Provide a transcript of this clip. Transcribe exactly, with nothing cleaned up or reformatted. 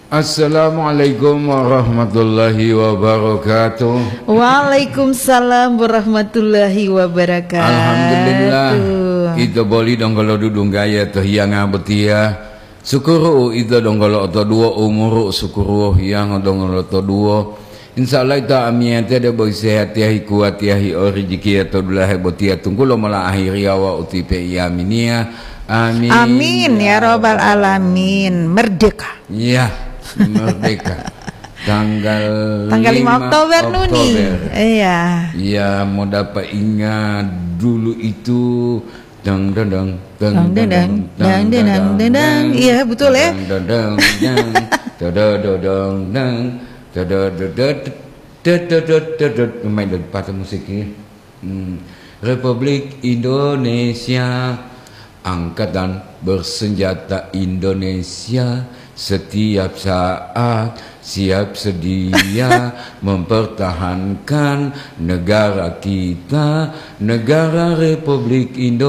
Assalamualaikum warahmatullahi wabarakatuh. Waalaikumsalam warahmatullahi wabarakatuh. Alhamdulillah, ito boli donggo lo dudunggaya to hiyanga botiya. Sukuru ito donggo lo otoduwo, umuru sukuru hiyango donggo lo otoduwo. Insya Allah ito amiyate debo sehatiya, hikuwatiya, hi o rijikiya to dulahe botiya tunggulo mola ahiriya wawu utipe iyaminiya. Amin. Amin, ya rabbal alamin. Merdeka. Iya, merdeka. Tanggal Tanggal lima lima Oktober, Nuni. Oktober. Iya. Iya, mau dapat ingat dulu itu. Dang, dang, dang, dang, Dang, dang, dang, dang, dang, dang, dang, dang, dang, dang. Iya, betul, ya. Dang, dang, dang, dang. Dodo, do, dong, dang. Dodo, do, do, do, do, do, do, do, do. Main dari patah musiknya. Hmm. Republik Indonesia, Angkatan Bersenjata Indonesia, setiap saat siap sedia mempertahankan negara kita, negara Republik Indonesia.